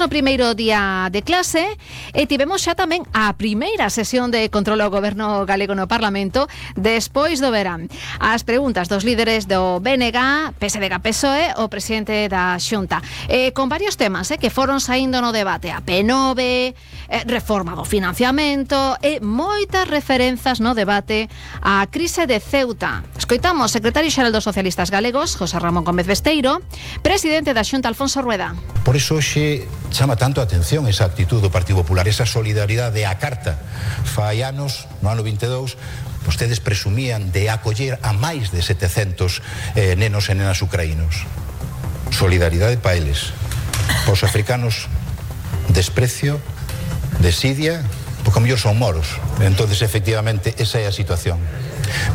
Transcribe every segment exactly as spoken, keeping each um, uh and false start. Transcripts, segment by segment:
No primeiro día de clase e tivemos xa tamén a primeira sesión de control ao goberno galego no Parlamento despois do verán. As preguntas dos líderes do B N G, P S D G, P S O E, o presidente da Xunta, eh, con varios temas eh, que foron saindo no debate, a P nove, eh, reforma do financiamento e moitas referenzas no debate á crise de Ceuta. Escoitamos o secretario xeral dos socialistas galegos, José Ramón Gómez Besteiro, presidente da Xunta, Alfonso Rueda. Por iso hoxe chama tanto a atención esa actitud do Partido Popular, esa solidaridade á carta. Fai anos, no ano vinte e dous, vostedes presumían de acoller a máis de setecentos eh, nenos e nenas ucraínos. Solidaridade pa eles. Pa os africanos, desprecio, desidia, porque a mellor son moros. Entonces, efectivamente, esa é a situación.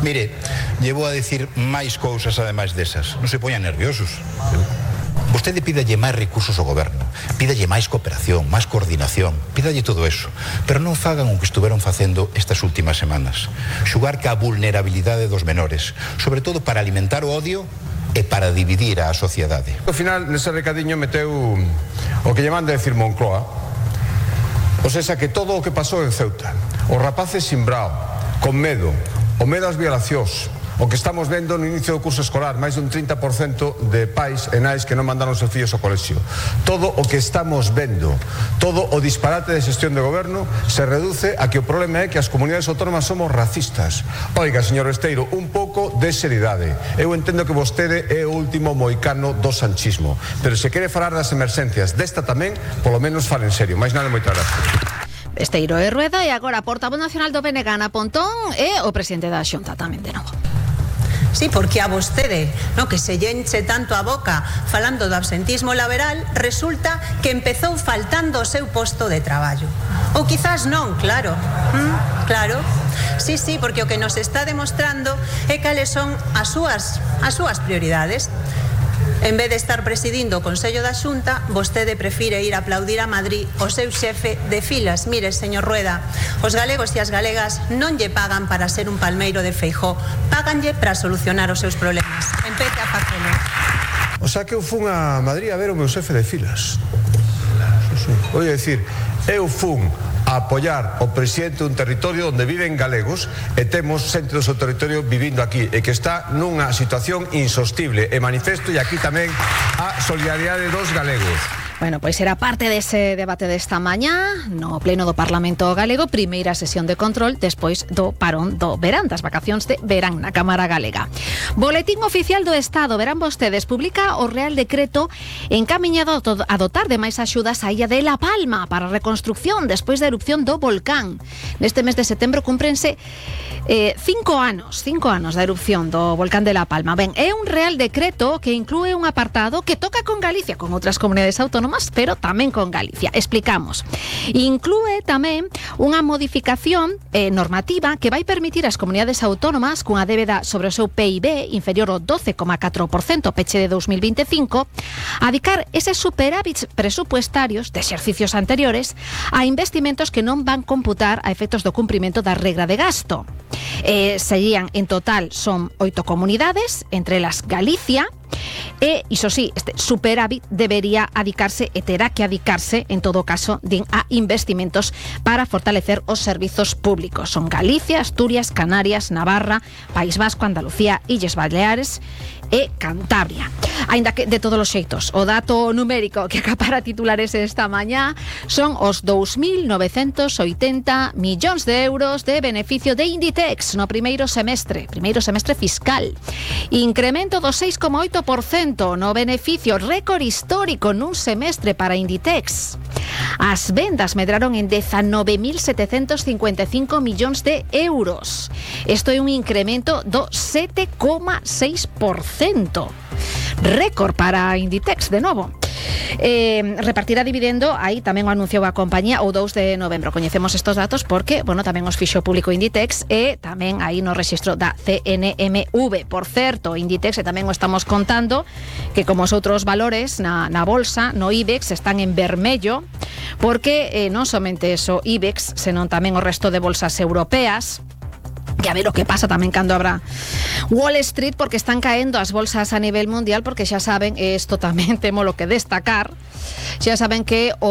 Mire, llevo a decir máis cousas ademais desas. Non se poñan nerviosos. Vostede pídalle máis recursos ao goberno, pídalle máis cooperación, máis coordinación, pídalle todo eso, pero non fagan o que estuveron facendo estas últimas semanas, xugar ca vulnerabilidade dos menores, sobre todo para alimentar o odio e para dividir a sociedade. Ao final, nese recadiño meteu o que lle manda decir Moncloa, o sea, que todo o que pasou en Ceuta, os rapaces simbrao, con medo, o medo ás violacións, o que estamos vendo no inicio do curso escolar, máis dun trinta por cento de pais e nais que non mandaron os seus fillos ao colexio. Todo o que estamos vendo, todo o disparate de xestión de goberno se reduce a que o problema é que as comunidades autónomas somos racistas. Oiga, señor Besteiro, un pouco de seriedade. Eu entendo que vostede é o último moicano do sanchismo, pero se quere falar das emerxencias desta tamén, polo menos fale en serio. Mais nada, moitas gracias. Besteiro e Rueda, e agora portavoz nacional do B N G, Ana Pontón, e o presidente da Xunta tamén de novo. Sí, porque a vostede, no, que se lle enche tanto a boca falando do absentismo laboral, resulta que empezou faltando o seu posto de traballo. Ou quizás non, claro. ¿Mm? Claro. Sí, sí, porque o que nos está demostrando é cales son as súas, as súas prioridades. En vez de estar presidindo o Consello da Xunta, vostede prefire ir a aplaudir a Madrid o seu xefe de filas. Mire, señor Rueda, os galegos e as galegas non lle pagan para ser un palmeiro de Feijóo, páganlle para solucionar os seus problemas. Empece a facelo. O sea que eu fun a Madrid a ver o meu xefe de filas. Vou dicir, eu fun a apoiar o presidente dun territorio onde viven galegos e temos xente do seu territorio vivindo aquí e que está nunha situación insostible e manifesto e aquí tamén a solidaridade dos galegos. Bueno, pois era parte dese debate desta mañá no pleno do Parlamento Galego, primeira sesión de control despois do parón do verán, das vacacións de verán na Cámara Galega. Boletín Oficial do Estado, verán vostedes, publica o Real Decreto encamiñado a dotar de máis axudas á illa de La Palma para a reconstrucción despois da erupción do volcán. Neste mes de setembro cúmprense eh, cinco anos, cinco anos da erupción do volcán de La Palma. Ben, é un Real Decreto que inclúe un apartado que toca con Galicia, con outras comunidades autónomas, pero tamén con Galicia. Explicamos. Inclúe tamén unha modificación eh, normativa que vai permitir ás comunidades autónomas cunha débeda sobre o seu P I B inferior ao doce coma catro por cento peche de dous mil vinte e cinco adicar eses superávits presupuestarios de exercicios anteriores a investimentos que non van computar a efectos do cumprimento da regra de gasto. Eh, serían, en total, son oito comunidades, entre elas Galicia, e, iso sí, este superávit debería adicarse e terá que adicarse, en todo caso, din, a investimentos para fortalecer os servizos públicos. Son Galicia, Asturias, Canarias, Navarra, País Vasco, Andalucía, Illes Baleares e Cantabria. Aínda que, de todos os xeitos, o dato numérico que acapara titulares esta mañá son os dous mil novecentos oitenta millóns de euros de beneficio de Inditex no primeiro semestre, primeiro semestre fiscal. Incremento do seis coma oito por cento no beneficio, récord histórico nun semestre para Inditex. As vendas medraron en dezanove mil setecentos cincuenta e cinco millóns de euros. Isto é un incremento do sete coma seis por cento. Récord para Inditex, de novo. Eh, repartirá dividendo, aí tamén o anunciou a compañía o dous de novembro. Coñecemos estos datos porque, bueno, tamén os fixo público Inditex e tamén aí no rexistro da C N M V. Por certo, Inditex, e tamén o estamos contando, que como os outros valores na, na bolsa, no IBEX, están en vermello, porque eh, non somente eso IBEX, senón tamén o resto de bolsas europeas, E a ver o que pasa tamén cando habrá Wall Street, porque están caendo as bolsas a nivel mundial, porque xa saben, e isto tamén temos lo que destacar, xa saben que o